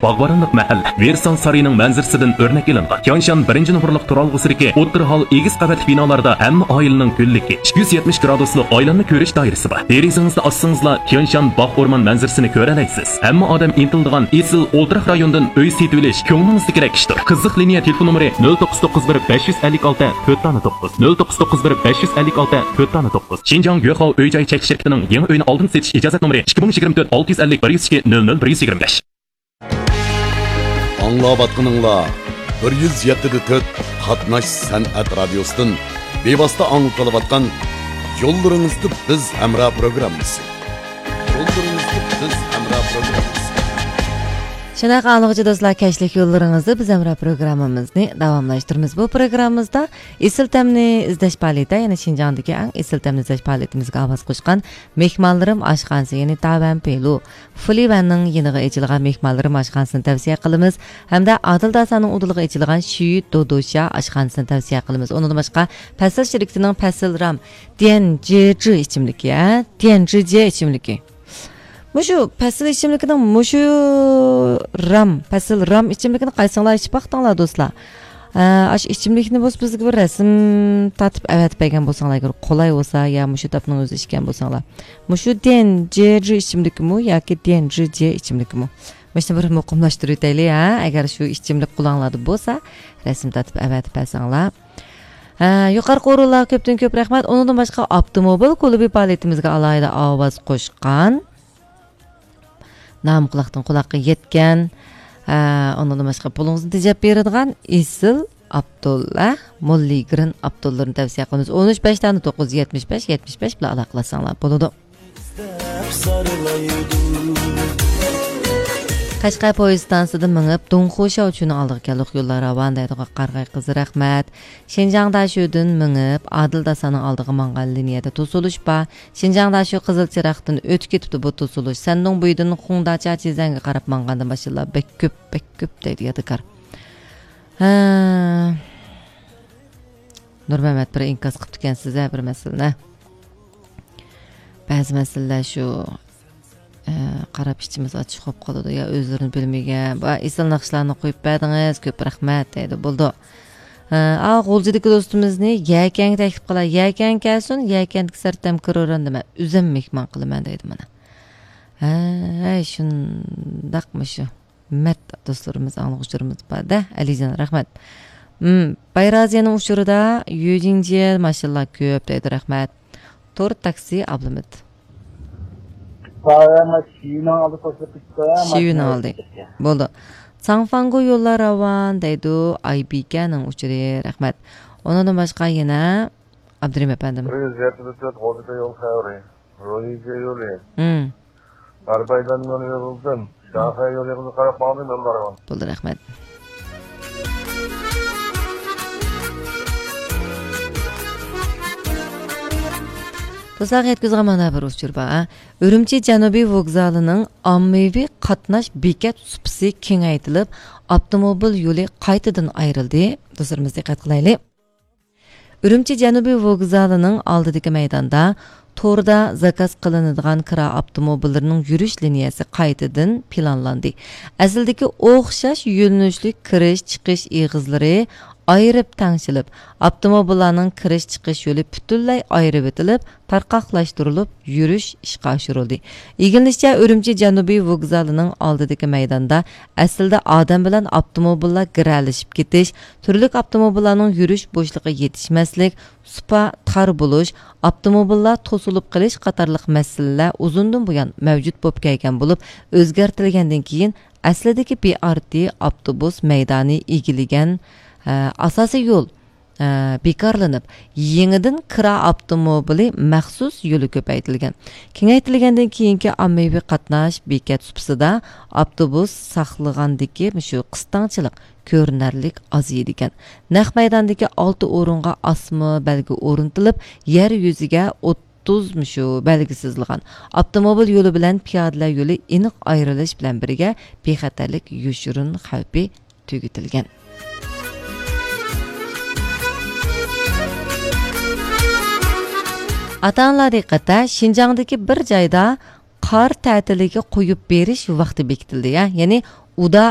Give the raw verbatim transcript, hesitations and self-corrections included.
باغۋەنلىك مەھەللە، ۋېرسال سارىيىنىڭ مەنزىرىسىدىن ئۆرنەك ئېلىنغان. تيانشان بىرىنچى نومۇرلۇق تۇرالغۇسىدىكى ئوتتۇرا ھال ئېگىز قەۋەتلىك بىنالاردا ھەممە ئائىلىنىڭ گۈللۈكى، ئىككى يۈز يەتمىش گرادۇسلۇق ئايلانما كۆرۈش دائىرىسى بار. دېرىزىڭىزنى ئاچسىڭىزلا، تيانشان باغ ئورمان مەنزىرىسىنى كۆرەلەيسىز. ھەممە ئادەم ئىنتىلىدىغان ئېسىل ئولتۇراق رايوندىن ئۆي سېتىۋېلىش كۆڭلىڭىزدىكىدەك ئىشتۇر. قىزىق لىنىيە تېلېفون نومۇرى: نۆل توققۇز توققۇز بىر بەش يۈز ئەللىك ئالتە تۆت دانە توققۇز، نۆل توققۇز توققۇز بىر بەش يۈز ئەللىك ئالتە تۆت دانە توققۇز. شىنجاڭ يۆخاۋ ئۆي جاي چەكلىك شىركىتىنىڭ يېڭى ئۆينى ئالدىن سېتىش ئىجازەت نومۇرى: ئىككى مىڭ يىگىرمە تۆت، ئالتە يۈز ئەللىك، بىر يۈز ئىككى، نۆل نۆل، بىر يۈز يىگىرمە بەش. ئاڭلاۋاتقىنىڭلار بىر يۈز يەتتە دە تۆت قاتناش سەنئەت رادىيوسىدىن بىۋاسىتە ئاڭلىتىلىۋاتقان يوللىرىڭىزدا بىز ھەمراھ پروگراممىسى. يوللىرىڭىزدا بىز ھەمراھ پروگراممىسى. شۇنداق ئاڭلىغۇچى دوستلار، كەچلىك يوللىرىڭىزدا بىز ھەمراھ پروگراممىمىزنى داۋاملاشتۇرىمىز. بۇ پروگراممىمىزدا ئېسىل تەمنى ئىزدەش پائالىيىتى، يەنى شىنجاڭدىكى ئەڭ ئېسىل تەمنى ئىزدەش پائالىيىتىمىزگە ئاۋاز قوشقان مېھمانلىرىم ئاشخانىسى، يەنى تاۋەن پېلۇ، فۇلىۋەننىڭ يېنىغا ئېچىلغان مېھمانلىرىم ئاشخانىسىنى تەۋسىيە قىلىمىز ھەمدە ئادىل داسانىڭ ئۇدۇلىغا ئېچىلغان شۈيۈ دودوشيا ئاشخانىسىنى تەۋسىيە قىلىمىز. ئۇنىڭدىن باشقا، پەسىل شىركىتىنىڭ پەسىل رام ديەن جې جى ئىچىملىكى، ھە؟ ديەن جې جى ئىچىملىكى. مۇشۇ پەسىل ئىچىملىكىنىڭ مۇشۇ رام، پەسىل رام ئىچىملىكىنى قايسىڭلار ئىچىپ باقتىڭلار، دوستلار؟ ھە، ئاشۇ ئىچىملىكنى بولسا بىزگە بىر رەسىم تارتىپ ئەۋەتىپ بەرگەن بولساڭلار، ئەگەر قولاي بولسا، يا مۇشۇ تاپنىڭ ئۆزى ئىچكەن بولساڭلار. مۇشۇ ديەن جې جى ئىچىملىكىمۇ ياكى ديەن جې جى ئىچىملىكىمۇ؟ مۇشۇنى بىر مۇقىملاشتۇرۇۋېتەيلى، ھە؟ ئەگەر شۇ ئىچىملىك قولۇڭلاردا بولسا، رەسىم تارتىپ ئەۋەتىپ بەرسەڭلار. ھە، يۇقىرىقى ئورۇنلارغا كۆپتىن كۆپ رەھمەت. ئۇنىڭدىن باشقا، ئاپتوموبىل كۇلۇبى پائالىيىتىمىزگە ئالاھىدە ئاۋاز قوشقان، نامى قۇلاقتىن قۇلاققا يەتكەن، ھە، ئۇنىڭدىن باشقا، پۇلىڭىزنى تېجەپ بېرىدىغان ئېسىل ئابدۇللا موللىگرىن ئابدۇللىرىنى تەۋسىيە قىلىمىز. ئون ئۈچ بەش دانە توققۇز يۈز يەتمىش بەش يەتمىش بەش بىلەن ئالاقىلەشسەڭلار بولىدۇ. قەشقەر پويىز ئىستانسىسىدىن مېڭىپ، دۇڭخۇشياۋچۈنىڭ ئالدىغا كەلدۇق. يوللار راۋان دەيدۇ، قارىغاي قىزى، رەھمەت. شىنجاڭ داشۆدىن مېڭىپ، ئادىل داسانىڭ ئالدىغا ماڭغان لىنىيەدە توسۇلۇش بار. شىنجاڭ داشۆ قىزىل چىراغدىن ئۆتۈپ كېتىپتۇ، بۇ توسۇلۇش. سەندۇڭ بويىدىن خۇڭداچا چىزەنگە قاراپ ماڭغاندا ماشىنىلار بەك كۆپ، بەك كۆپ دەيدۇ يادىكار. ھە. نۇرمەمەت بىر ئىنكاس قىپتىكەنسىز ھە بىر مەسىلىنى. بەزى مەسىلىلەر شۇ، ئە، قاراپ ئىچىمىز ئاچچىق بولۇپ قالىدۇ يا ئۆزلىرىنى بىلمىگەن. بۇ ئېسىل ناخشىلارنى قويۇپ بەردىڭىز، كۆپ رەھمەت دەيدۇ. بولىدۇ. ئە، ئا، غۇلجىدىكى دوستىمىزنى يەكەنگە تەكلىپ قىلاي. يەكەنگە كەلسۇن، يەكەندىكى سەرتەم كىروران دېمە. ئۆزۈم مېھمان قىلىمەن دەيدۇ مانا. ھەي، شۇنداقمۇ شۇ. مەت دوستلىرىمىز، ئاڭلىغۇچىلىرىمىز بار-دە، ئەلىجان، رەھمەت. مم، بايرازىيەنىڭ ئۇچۇرىدا يۈجىڭجيې ماشىنىلار كۆپ دەيدۇ، رەھمەت. تور تاكسى ئابلىمىت. بايا ما شىۋىنىڭ ئالدى قوشۇلۇپ كېتىپتۇ، شىۋىنىڭ ماشىنا ئالدى. كېتىپتۇ. بولدى. ساڭفاڭگو يوللار راۋان دەيدۇ، ئايبىكەنىڭ ئۇچۇرى، رەھمەت. ئۇنىڭدىن باشقا يەنە ئابدۇرېھىم ئەپەندىم. بىر يۈز يەتتە تۆت غوجىكا يول خەۋىرى. روھىجيې يولى. مم. غەربىي ئايلانما يولىدىن شاخەي يولىغا قاراپ ماڭدىم، يوللار راۋان. بولدى، رەھمەت. دوستلارغا يەتكۈزىدىغان مانا بىر ئۇچۇر بار. ئۈرۈمچى جەنۇبىي ۋوگزالىنىڭ ئاممىۋى قاتناش بېكەت سۇپىسى كېڭەيتىلىپ، ئاپتوموبىل يولى قايتىدىن ئايرىلدى. دوستلىرىمىز دىققەت قىلايلى. ئۈرۈمچى جەنۇبىي ۋوگزالىنىڭ ئالدىدىكى مەيداندا توردا زاكاز قىلىنىدىغان كىرا ئاپتوموبىللىرىنىڭ يۈرۈش لىنىيەسى قايتىدىن پىلانلاندى. ئەسلىدىكى ئوخشاش يۆنىلىشلىك كىرىش، چىقىش ئېغىزلىرى ئايرىپ تەڭشىلىپ، ئاپتوموبىللارنىڭ كىرىش، چىقىش يولى پۈتۈنلەي ئايرىۋېتىلىپ، تارقاقلاشتۇرۇلۇپ، يۈرۈش ئىشقا ئاشۇرۇلدى. ئىگىلىنىشىچە، ئۈرۈمچى جەنۇبىي ۋوگزالىنىڭ ئالدىدىكى مەيداندا ئەسلىدە ئادەم بىلەن ئاپتوموبىللار گىرەلىشىپ كېتىش، تۈرلۈك ئاپتوموبىللارنىڭ يۈرۈش بوشلۇقى يېتىشمەسلىك، سۇپا تار بولۇش، ئاپتوموبىللار توسۇلۇپ قېلىش قاتارلىق مەسىلىلەر ئۇزۇندىن بۇيان مەۋجۇت بولۇپ كەلگەن بولۇپ، ئۆزگەرتىلگەندىن كېيىن ئەسلىدىكى بى ئار تى ئاپتوبۇس مەيدانى ئىگىلىگەن، ئە، ئاساسىي يول، ئە، بىكارلىنىپ، يېڭىدىن كىرا ئاپتوموبىلى مەخسۇس يولى كۆپەيتىلگەن. كېڭەيتىلگەندىن كېيىنكى ئاممىۋى قاتناش بېكەت سۇپىسىدا ئاپتوبۇس ساقلىغاندىكى مۇشۇ قىستاڭچىلىق كۆرۈنەرلىك ئازىيىدىكەن. نەق مەيداندىكى ئالتە ئورۇنغا ئاسما بەلگە ئورنىتىلىپ، يەر يۈزىگە ئوتتۇز مۇشۇ بەلگە سىزىلغان. ئاپتوموبىل يولى بىلەن پىيادىلەر يولى ئېنىق ئايرىلىش بىلەن بىرگە، بىخەتەرلىك يوشۇرۇن خەۋپى تۈگىتىلگەن. ئاتا-ئانىلار دىققەتتە، شىنجاڭدىكى بىر جايدا قار تەتىلىگە قويۇپ بېرىش ۋاقتى بېكىتىلدى، يا-، يەنى ئۇدا